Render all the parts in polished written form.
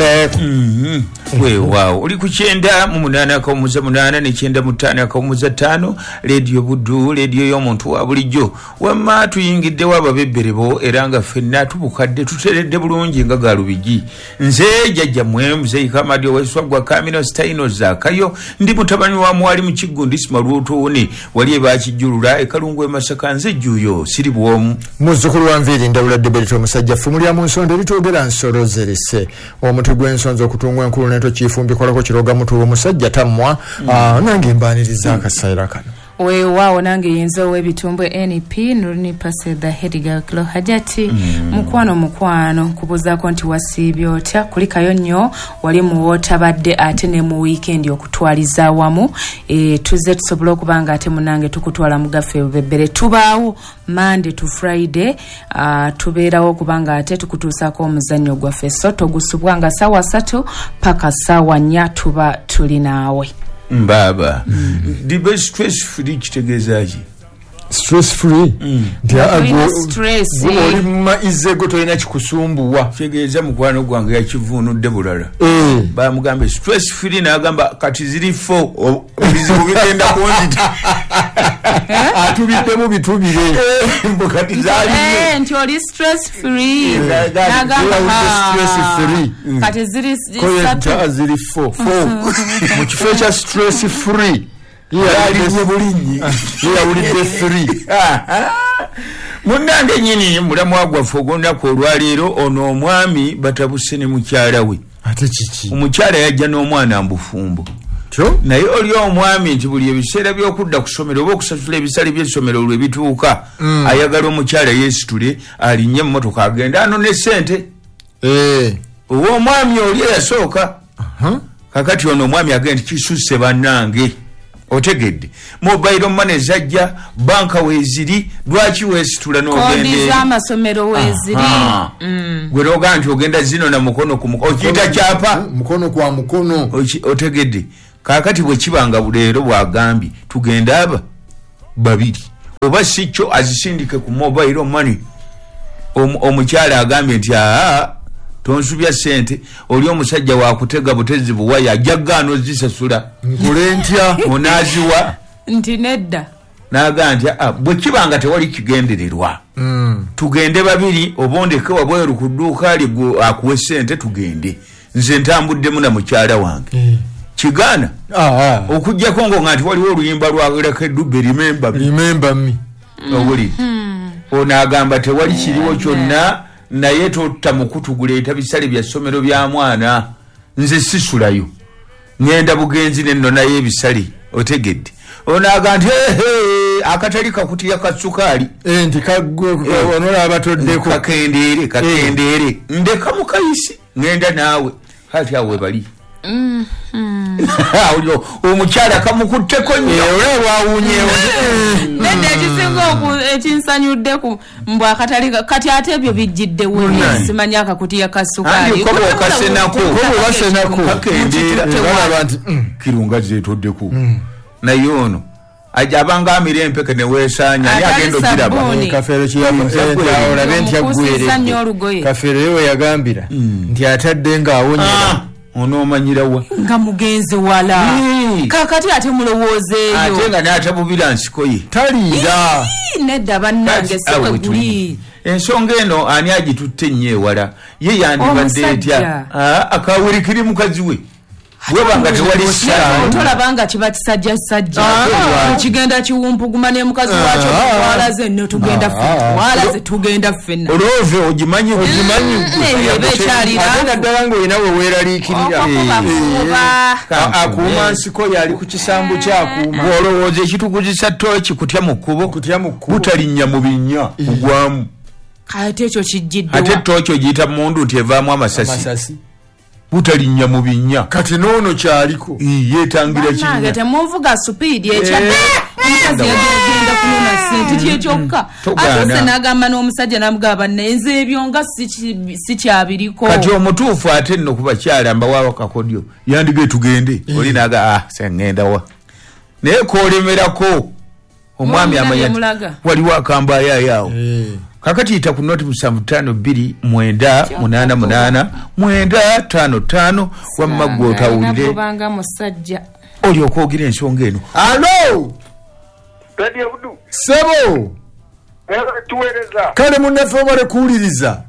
Ndeku. Weewaawo, oli ku 98.8 ne 95.5, Leediyo Buddu, leediyo y'omuntu wa bulijjo. Wamma tuyingiddewo ababebberebo, era nga ffenna tubukadde, tuteredde bulungi nga galubigi. Nze jjajjammwe Muzeeyi Kamadi ow'Eswaggwa Kamino Sitaino Zaakayo, ndi mutabani wa Mwali mu Kiggundi Simalwotoone, wali ebakijjulula ekalungu e Masaka. Nze jjuuyo siri bwomu. Muzzukulu wa Nviiri Ndawula Deberito, omusajja ffumu lya mu nsonda eritwogera nsolo zerise, omuti gw'ensonzi okutungwa enkulu nento kifumbikolako kiroga mutu, omusajja tammwa. Nange mbaaniriza akaseera kano. Weewaawo, nange yinza ow'ebitumbwe NP Nuruni Pase, the head girl Klo Hajati. Mukwano, mukwano, kubuuzaako nti wasiibye otya? Kulikayo nnyo wali muwootabadde, ate ne mu wiikendi okutwaliza awamu. Tuzze tusobole okuba nga ate munange tukutwala mu gaffe bubebbere. Tubaawo Monday to Friday, tubeerawo okubanga ate tukutuusaako omuzannyo gwaffe, so togusubwa nga 3:00 paka 4:00 tuba tuli naawe. Mbaaba dibe stress free kitegeeza ki? Stress free nti Tolina stress. Gwe oli mumaizego, tolina kikusumbuwa. Kitegeeza mukwano gwange yakivuunudde bulala. Bamugambe stress free, n'agamba kati ziri fo ebizibu bigenda kunzita. Atubiddemu bitubire. Mbu kati zaali nti oli stress free. N'agamba, N'agamba, stress free. Kati ziri Ko satu. ziri fo mu kifo ekya stress free. Yalinnye bulinnyi. Ye yawulidde free. Munnange nyini mulamwa gwaffe ogw'olunaku olwaleero, ono omwami batabuse ne mukyala we. Ate kiki? Omukyala yajja n'omwana mbufumbo, kyo naye oli omwami nti buli ebiseera by'okudda ku ssomero oba okusasula ebisale by'essomero lwe bituuka, ayagala omukyala yeesitule alinnye emmotoka agende anone sente. Ow'omwami oli eyasooka. Kakati ono omwami agenda nti kisusse bannange, otegedde, mobile money zajja, banka weeziri, lwaki weesitula Kodi n'ogenda? z'amasomero weeziri. Aha. Gwe nogaa nti ogenda zino na mukono ku mukono, okiyita kyapa. Mukono kwa mukono. Otegedde, kakati bwe kiba nga leero bwagambye tugende aba babiri, oba si kyo azisindike ku mobile money. Omukyala agambye nti aa, tonsubya sente, oli omusajja wakutega butezi buwaya, ajja gaana ozisasula. Nkole ntya? Onaaziwa? Nti nedda. Nagaa nti "Ah, bwe kiba nga tewali kigendererwa, tugende babiri, oba ondeke wabweru ku dduuka lye, gwe akuwe sente tugende, nze ntambuddemu na mukyala wange." Kigaana okugjako ngo nga nti waliwo oluyimba lwa Dube, "Remember Me." Remember me. Owulire, ono agamba tewali kiriwo kyonna, naye totta mukutu guleeta bisale bya ssomero bya mwana, nze sisulayo, ŋŋenda bugenzi nennonayo ebisale. Otegedde, ono agamba nti "Ehe, akatali kakutiya ka sukaali." Nti onolaba toddeko. Kakendeere, kakendeere, ndeka mukayisi, ŋŋenda naawe. Kati awo webali. Olyo omukyala kamukutteko nnyo. Olaba wawunyewo. Nedda, ekisinga ekinsanyudde ku mbw akatali kati ate ebyo bijjiddewo, simanyi akakutiya ka sukaali. Anti ko bw'okasenako. Ko bw'okasenako. Kakendeera. Balaba nti kirunga zeetoddeko, naye ono ajja abanga amira empeke neweesaanya, ani Atali agenda ogiraba? sabbuuni. Kafeero kyeyalabe nti Omukuusiza nnyo olugoye. aggweredde. Kafeero ye we yagambira nti atadde ng'awonyera. Ah, onoomanyirawa? Nga mugenzi wala. Kakati ate mulowoozeeyo. Ate nga n'atabubira nsiko ye. Taliira. Ii, nedda bannange, Kati si awo bwe we tuli. guli. Ensonga eno ani agitutte ennyo ewala? Ye yandibadde Omusajja. etya? Ah, akawulikiri mukazi we weba nga tewali ssaawa. Tolaba nga kiba kisajjasajja Ah. kigenda kiwumpuguma ne mukazi wakyo? Twalaze nno, tugenda ffenna, twalaze, tugenda ffenna. Olwove ogimanyi. Ogimanyi. Eyo eba ekyali Ate naddala ng'olina we weeraliikirira. Okubakuba. Akuuma nsiko, yali ku kisambu kyakuuma. Bw'olowooza ekituguzisa tooki kutya mu kkubo. Kutya mu kkubo. Butalinnya mu binnya kugwamu. Ate ekyo kijjiddewa? Ate tooki ogiyita mundu nti evaamu amasasi. Amasasi. Butalinnya mu binnya. Kati n'ono kyaliko. Ii, yeetangira Bannange, kinnya. temunvuga supiidi ekyadde. Omukazi yagenda kunona sente kyekyokka. Togaana. Atuuse n'agamba n'omusajja, n'amugamba, "Naye ebyo nga sikyabiriko." Kati omutuufu ate nno ku bakyala mbawawo kakodyo, yandige tugende, oli naga, "Ah, seŋŋendawa?" Naye kolemerako omwami Mwami amanya nti namulaga. waliwo akambaayaayo awo. Kakati yita ku noti 752 988 955 wamma gwe otawulire banga musajja oli okwogera ensonga eno. Alo Radio Buddu sebo tuweereza kale munnaffe obale kuwuliriza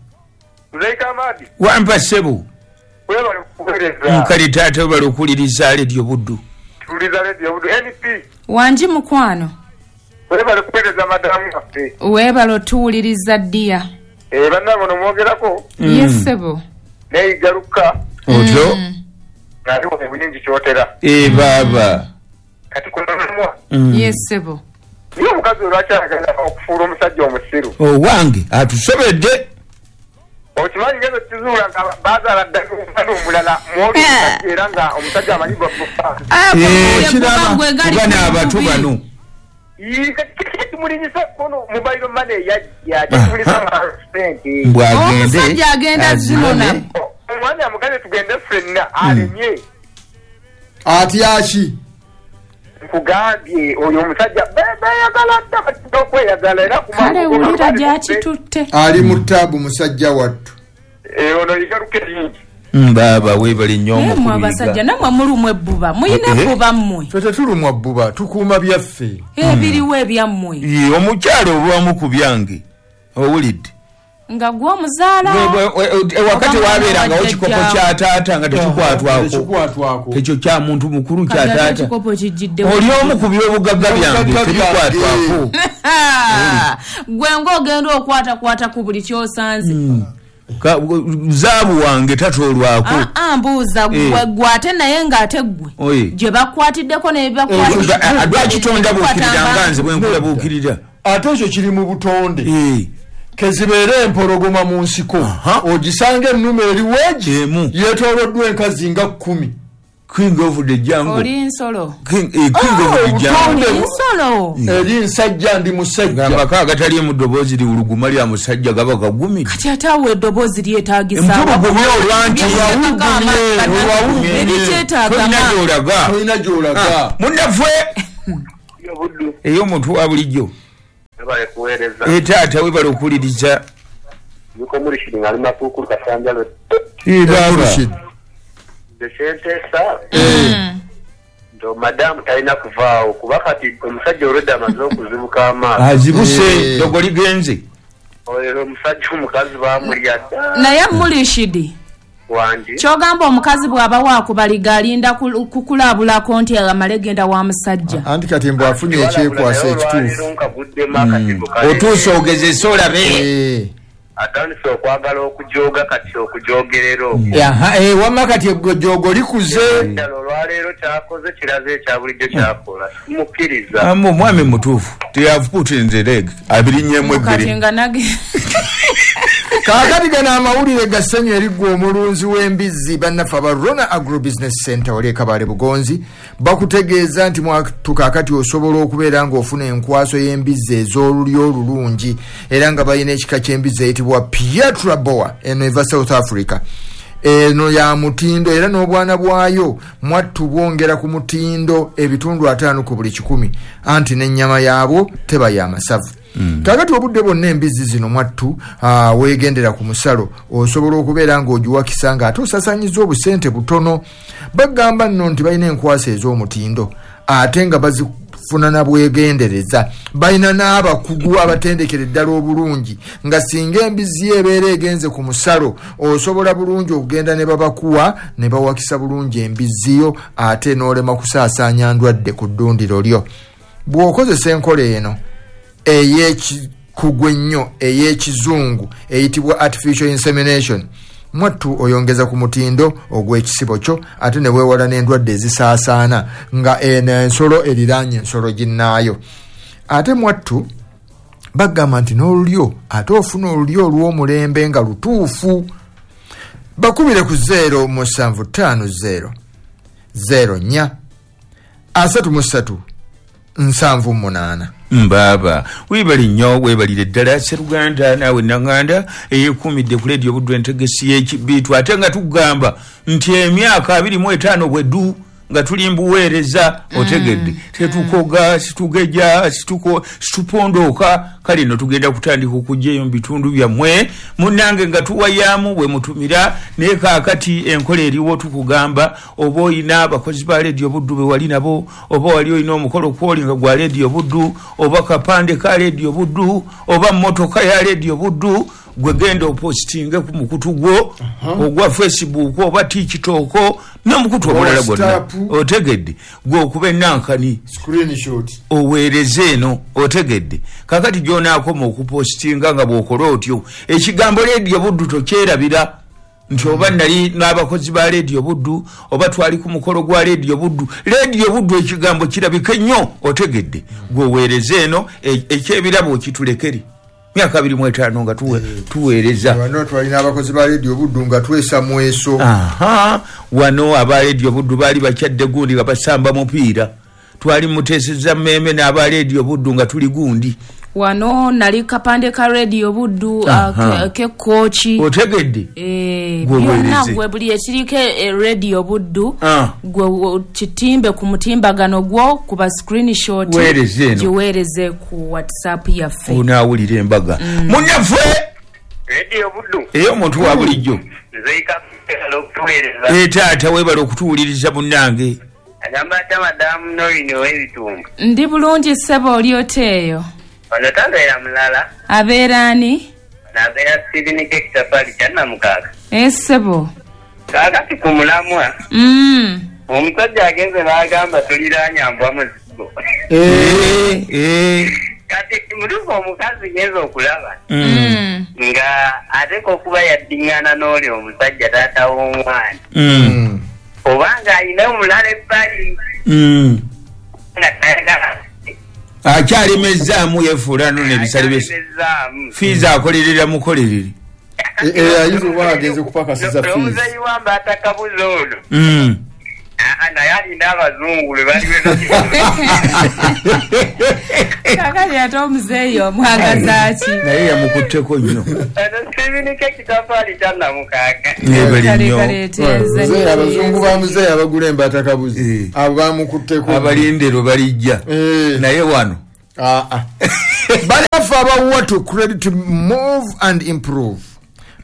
wampa sebo nkale taata webale okuwuliriza Radio Buddu. Tuwuliriza Radio Buddu NP wangi mukwano webale kuweereza madamu waffe webale otuwuliriza ddiya bannange ono mwogerako yes sebo neyigaluka otyo ng'aliwo ebuyingi kyotera baaba kati kunomwa yes sebo niye omukazi olwaki ayagala okufuula omusajja omusiru owange atusobedde okimanyi ngendo kizuula nga bazaala ddala omwana omulala mwoli omusajja era nga omusajja amanyi bano abato bano kimulinyisa kono mobile money yajja kimulisa sente omusajja agenda zinona omwana amugaze tugende ffenna alemye atyaki nkugambye oyo omusajja beyagala dda batidde okweyagala era kale wulira gyakitutte ali mu ttaabu musajja wattu ono yigaluka eringi baaba weebale nnyo omukulu abasajja nammwe mulumwa ebbuba muyina ebbuba mmwe ffe tetulumwa bbuba tukuuma byaffe ebiriwo ebyammwe omukyalo obwamu ku byange owulidde nga gwe omuzaala wakati wabeerangawo kikopo kya taata nga tekikwatwako ekyo kya muntu mukulu kya taata oli omu ku byobugagga byange tebikwatwako gwe ng'ogenda okwatakwata ku buli kyosanze zaabu wange tatoolwako mbuuza gwe ate naye ng'ate ggwe gye bakwatiddeko lwaki tondabuukirira nga nze bwe nkulabuukirira ate ekyo kiri mu butonde kezibeere empologoma mu nsiko ogisanga ennume eri weegi yeetooloddwa enkazi nga 10 King of the jungle oli nsolo King of the jungle nsolo eri nsajja ndi musajja amaka agataliimu ddoboozi liwuluguma lya musajja gaba gagumire kati ate awo eddoboozi lyetaagisa mpulugumye olwanti tolina gy'olaga munnaffe ey'omuntu wa bulijjo taata webale okuwuliriza nsenteesa nti madamu talina kuvaawo kuba kati omusajja olwedde amaze okuzibuka amaaso azibuse ddogo ligenze olero omusajja omukazi bamulya dda naye mulishidi wangi kyogamba omukazi bw'aba waakubaliga alinda kukulabulako nti amale genda wa musajja anti kati mbw afunye ekyekwasa ekituufu otuuse ogezese olabe atandise okwagala okujooga kati okujogerera okwo wamma kati ejjoogo likuze ddala olwaleero kyakoze kiraze ekya bulijjo kyakola simukkiriza omwami mutuufu they have put in the leg abirinnyemu ebbiri kaakati gano amawulire ga ssanyu eriggwa omulunzi w'embizzi bannaffe aba Rona Agro Business Center wali e Kabale Bugonzi bakutegeeza nti mwatu kaakati osobola okubeera ng'ofuna enkwaso y'embizzi ez'olulyo olulungi era nga balina ekika ky'embizzi eyitibwa Pietra Boa eno eva South Africa eno ya mutindo era n'obwana bwayo mwattu bwongera ku mutindo ebitundu 5 ku buli 100 anti n'ennyama yaabwo teba ya masavu. Kaakati obudde bwonna embizzi zino mwattu weegendera ku musalo osobola okubeera ng'ogiwakisa ng'ate osasanyiza obusente butono. Bagamba nno nti balina enkwasa ez'omutindo ate nga bazifuna na bwegendereza balina n'abakugu abatendekera eddala obulungi nga singa embizzi ebeera egenze ku musalo osobola bulungi okugenda ne babakuwa ne bawakisa bulungi embizzi yo ate n'olema kusaasaanya ndwadde ku ddundiro lyo. Bw'okozesa enkola eno ey'ekikugu ennyo ey'ekizungu eyitibwa artificial insemination mwattu oyongeza ku mutindo ogw'ekisibo kyo ate ne weewala n'endwadde ezisaasaana nga eno ensolo eriraanye ensolo ginnaayo. Ate mwattu bagamba nti n'olulyo ate ofuna olulyo olw'omulembe nga lutuufu. Bakubire ku 0750 04 33 78. Mbaba webali nnyo webalire ddala Sseruganda naawe Nanganda eyeekuumidde ku leediyo Buddu entegesi y'ekibiitu ate nga tugamba nti emyaka 25 bweddu nga tuli mbuweereza otegedde tetukoga situgeja situpondooka. Kale no tugenda kutandika okujjaeyo mu bitundu byammwe munnange nga tuwayaamu bwe mutumira. Naye kaakati enkola eriwo tukugamba oba oyina abakozi ba Leediyo Buddu be wali nabo, oba wali oyina omukolo kwoli nga gwa Leediyo Buddu, oba kapande ka Leediyo Buddu, oba mmotoka ya Leediyo Buddu, gwe genda opositinge ku mukutu gwo ogwa Facebook oba TikTok n'omukutu omulala gwonna otegedde, gwe okuba ennankani screenshot oweereze eno otegedde. Kakati gy'onaakoma okupositinga nga bw'okola otyo ekigambo Leediyo Buddu tokyerabira nti oba nali n'abakozi ba Leediyo Buddu oba twali ku mukolo gwa Leediyo Buddu. Leediyo Buddu ekigambo kirabike nnyo otegedde, gwe oweereze eno ekyebirabo kitulekere. Myaka 25 nga tuweereza. Wano twalina abakozi ba Leediyo Buddu nga twesa mweso. Wano aba Leediyo Buddu baali bakyadde gundi nga basamba mupiira. Twali muteeseza mmeme n'aba Leediyo Buddu nga tuli gundi. Wano nali kapande ka Leediyo Buddu kekooki otegedde byonna gwe buli ekiriko Leediyo Buddu gwe kitimbe ku mutimbagano gwo kuba screenshot giweereze ku WhatsApp yaffe onaawulira embaga. Munnaffe Leediyo Buddu ey'omuntu wa bulijjo taata weebale okutuwuliriza munnange. Agamba ata madamu Norine ow'ebitundu. Ndi bulungi ssebo, oli oteeyo? Ono tabeera mulala. Abeera ani? Abeera Steven Kekitafali Kyannamukaaka. Ssebo. Kaakati ku mulamwa. Omusajja agenze n'agamba tuliraanya mbwa muzigo. Kati mutuufu omukazi genze okulaba. Nga ateeka okuba yaddiŋŋana n'oli omusajja taata w'omwana. Obanga alina omulala ebbali. Nga tayagala. Akyalemezaamu yefuula no n'ebisale bye fiizi akolerera mukolerere. Ayinza oba agenze kupakasiza fiizi. Omuzeeyi wamba atakabuza ono. Naye alina abazungu lwe baliwe. Kakati ate omuzeeyi omwagaza ki? Naye yamukutteko nnyo. Steven Kekitafali Kyannamukaaka. Abazungu ba muzeeyi abagula embatakabuzi abo bamukutteko. Abalindero balijja. Naye wano. Banafe abawa to credit move and improve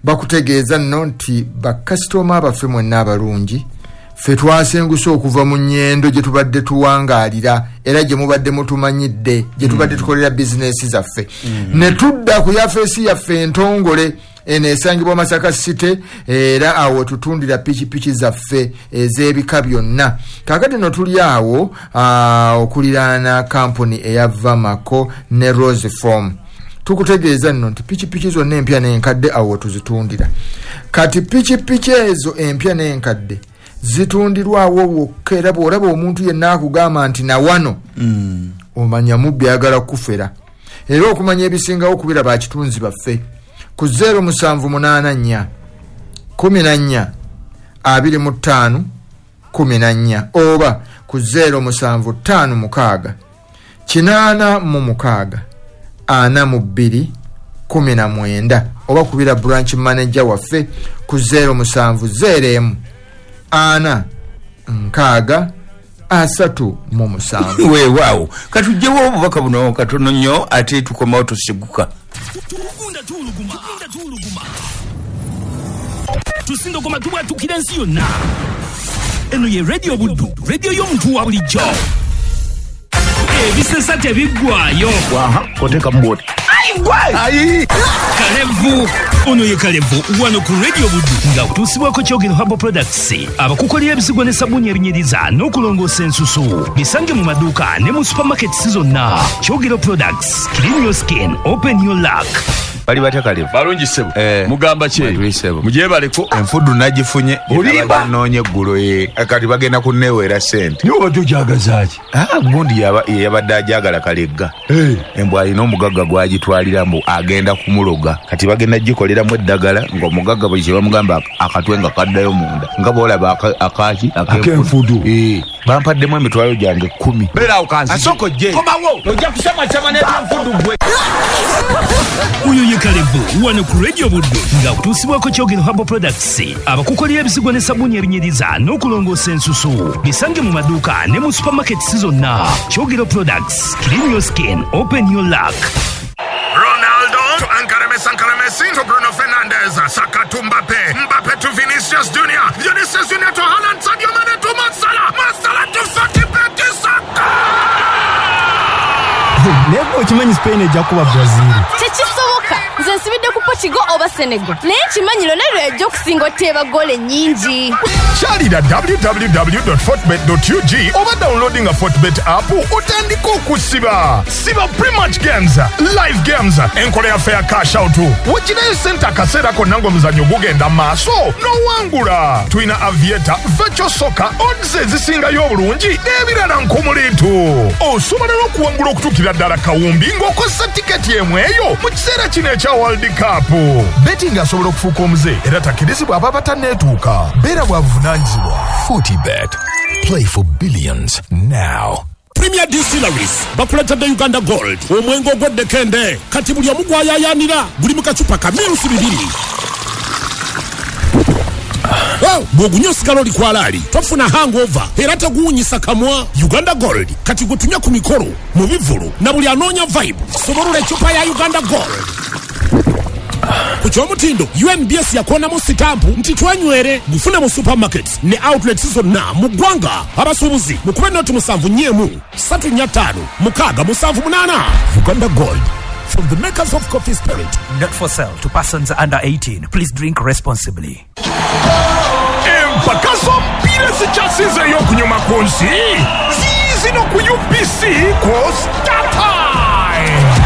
bakutegeeza nno nti bakasitoma baffe mwenna abalungi ffe twasenguse okuva mu nnyendo gye tubadde tuwangaalira era gye mubadde mutumanyidde gye tubadde tukolera bizinesi zaffe ne tudda ku yafeesi yaffe entongole eno esangibwa Masaka City era awo tutundira pikipiki zaffe ez'ebika byonna. Kaakati no tuli awo okuliraana kampuni eya Vamako ne Rose Form. Tukutegeeza nno nti pikipiki zonna empya n'enkadde awo tuzitundira. Kati pikipiki ezo empya n'enkadde zitundirwawo wokka era bw'olaba omuntu yenna akugamba nti na wano omanya mubbi ayagala kufera. Era okumanya ebisingawo kubira bakitunzi baffe ku 0784 14 25 14 oba ku 0756 86 42 19 oba kubira branch manager waffe ku 0701 4 6 37. Weewaawo katugyewo obubaka buno katono nnyo ate tukomawo tusiguka. Tusindogoma tubwatukira ensi yonna. Eno ye Radio Buddu, radio y'omuntu wa bulijjo. Ebisesa tebiggwayo. Oteka mboti. Ayi! Kalevu. Ono ye Kalevu wano ku Radio Buddu nga otuusibwako Kyogero Herbal Products abakukolera ebisigwa ne sabbuuni ebinyiriza n'okulongoosa ensusu. Bisange mu maduuka ne mu supermarkets zonna. Kyogero Products, clean your skin, open your luck. Bali batya Kalevu? Balungi ssebo. Mugamba ki? Mujebaleko. Enfudu nagifunye. Olimba. Noonye eggulo kati bagenda kunneeweera ssente. Niwe obadde ogyagaza ki? Gundi yabadde ajagala Kalegga. Embwa alina omugagga gw'agitwalira mbu agenda kumuloga. Kati bagenda gikoleramu eddagala ng'omugagga bwe kye bamugamba akatwe nga kaddayo munda. Nga bw'olaba akaki ak'enfudu. Bampaddemu emitwalo gyange 10. Beera ukanzi. Asoko je. Komawo. Ojja kusama n'ebyanfudu gwe. Oyo ye Kalevu wano ku Radio Buddu nga kutuusibwako Kyogero Herbal Products abakukolera ebisigwa ne sabbuuni ebinyiriza n'okulongoosa ensusu. Bisange mu maduuka ne mu supermarkets zonna. Kyogero Products, clean your skin, open your luck. Ronaldo to Ankara Messi to Bruno Fernandes, Saka to Mbappe, Mbappe to Vinicius Junior, Vinicius Junior to Haaland, Sadio Mane to Mo Salah, Mo Salah to Fati Peti Saka. Naye okimanyi Spain ejja kuba Brazil. Tekisoboka. Nze nsibidde ku Portugal oba Senegal. Naye nkimanyi Ronaldo yajja okusinga oteeba ggoolo ennyingi. Kyalira www.fortbet.ug oba downloading a Fortbet app otandika okusiba. Siba pre-match games, live games, enkola ya fair cash out. Wekirayo sente akaseera konna ng'omuzannyo gugenda maaso n'owangula. Tulina Aviator, Virtual Soccer, odds ezisingayo obulungi n'ebirala nkumuliitu. Osobola n'okuwangula okutuukira ddala kawumbi ng'okozesa tiketi emu eyo mu kiseera kino ekya World Cup. Betting asobola okufuuka omuze era takkirizibwa aba batanneetuuka. Beera bwa buvunaanyizibwa. Fortibet. Play for billions now. Premier Distilleries bakuletedde Uganda Gold omwenge ogw'eddekende kati buli omu gwayayaanira guli mu kacupa ka mirusi 2. Bw'ogunywa osigala oli kwalaali tofuna hangover era teguwunyisa kamwa. Uganda Gold kati gutunywa ku mikolo mu bivvulu na buli anoonya vibe. Sobolula ecupa ya Uganda Gold. Ku ky'omutindo UNBS yakoonamu sitampu nti twenywere. Gufune mu supermarkets ne outlets zonna mu ggwanga. Abasuubuzi mukube noti 741 345 678. Uganda Gold, from the makers of coffee spirit. Not for sale to persons under 18. Please drink responsibly. Empaka z'omupiira zikyasinzeeyo okunyuma ku nsi ziizino ku UBC ku StarTimes.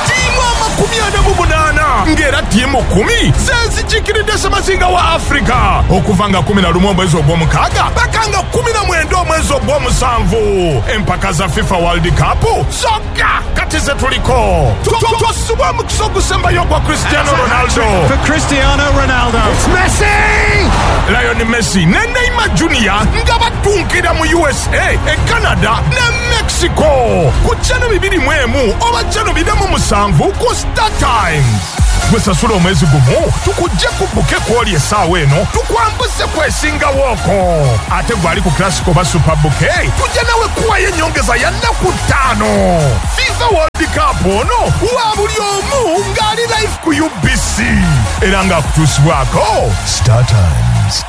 Ttiimu 48 ng'era ttiimu 10 zezikiikiridde ssemazinga wa Afrika okuva nga 11 omwezi ogw'omukaaga paka nga 19 omwezi ogw'omusanvu. Empaka za FIFA World Cup zokka kati ze tuliko. Tosubwa omukisa ogusembayo ogwa Cristiano Ronaldo. For Cristiano Ronaldo. It's Messi! Lionel Messi ne Neymar Junior nga batunkira mu USA, e Canada ne Mexico ku channel 21 oba channel 27 ku StarTimes. Gwe sasula omwezi gumu tukujje ku buke kwoli essaawa eno tukwambuse kwesingawooko. Ate gwali ku Classic oba Super Buke tujja nawe kuwayo ennyongeza ya nnaku 5. FIFA World Cup ono wa buli omu ng'ali live ku UBC era ng'akutuusibwako StarTimes.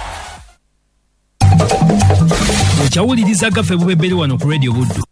Okyawuliriza gaffe bubebbere wano ku Radio Buddu.